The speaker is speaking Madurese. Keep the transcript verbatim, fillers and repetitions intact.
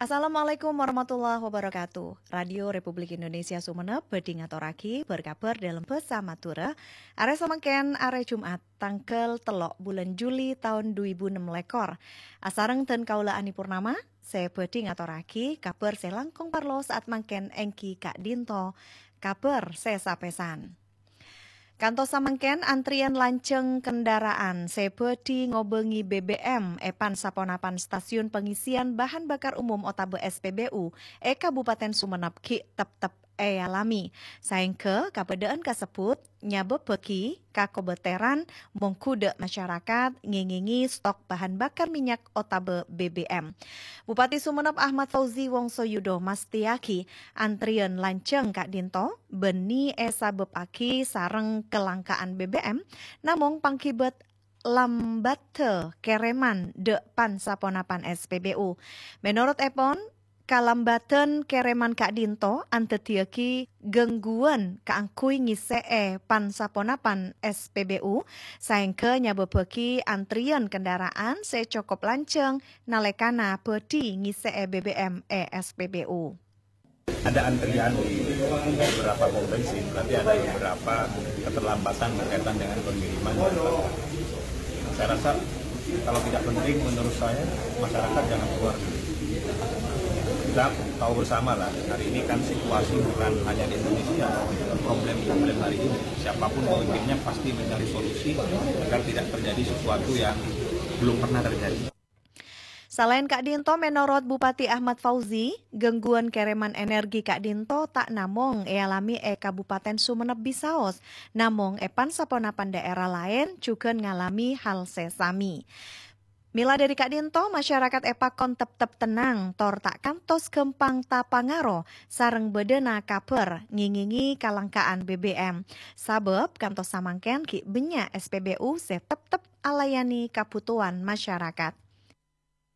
Assalamualaikum warahmatullahi wabarakatuh. Radio Republik Indonesia Sumenep bhâdhi ngatorraghi bâr-kabhâr dâlem bhâsa Madhurâ. Arè samangkèn arè Jum'at, tangghâl tello' bulân Juli taon du èbu ennem lèkor. Asareng dân kaulâ Ani Purnama, sè bhâdhi ngatorraghi kabhâr sè langkong parlo sa'at mangkèn èngghi ka'dinto kabhâr sè sapèsan. Kantos samangkèn, antrèyan lanjhâng kendaraan sè bhâdhi ngobângè B B M è pan-saponapan stasiun pengisian bahan bakar umum otabâ S P B U è Kabupaten Sumenep ghi' teptep èalamè, saèngghâ kabâdâ'ân kasebbhut nyabâbbhâghi kakobâtèran mongghu dâ' masyarakat ngèngèngè stok bahan bakar minyak otabâ B B M. Bupati Sumenep Ahmad Fauzi Wongsoyudo mastèyaghi antrèyan lanjhâng ka'dinto bânnè èsabâbbhâghi sareng kelangkaan B B M, namong pangghibât lambâdhâ kèrèman dâ' pan-saponapan S P B U. Mènorot èpon, kalambâdhân kèrèman ka'dinto andhâddhiyâghi gangguwân kaangghuy ngèssè'è pan-saponapan S P B U, saèngghâ nyabâbbhâghi antrèyan kendaraan sè cokop lanjhâng nalèkana bhâdhi ngèssè'è B B M è S P B U. Ada antrian di beberapa pom bensin, berarti ada beberapa keterlambatan berkaitan dengan pengiriman. Saya rasa kalau tidak penting, menurut saya, masyarakat jangan keluar dulu. Kita tahu bersama lah, hari ini kan situasi bukan hanya di Indonesia, problem-problem hari ini. Siapapun pemimpinnya pasti mencari solusi agar tidak terjadi sesuatu yang belum pernah terjadi. Salaèn ka'dinto, mènorot Bupati Ahmad Fauzi, gangguwân kèrèman energi ka'dinto ta' namong èalamè è Kabupaten Sumenep bisaos, namong è pan-saponapan dhaèra laèn jhughân ngalamè hal sè samè. Mèla dhâri ka'dinto, masyarakat èpakon teptep tennang, tor ta' kantos ghâmpang tapangaro sareng bâdâna kabhâr ngèngèngè kalangkaan B B M. Sabâb kantos samangkèn ghi' bânnya' S P B U sè teptep alayanè kabhutowan masyarakat.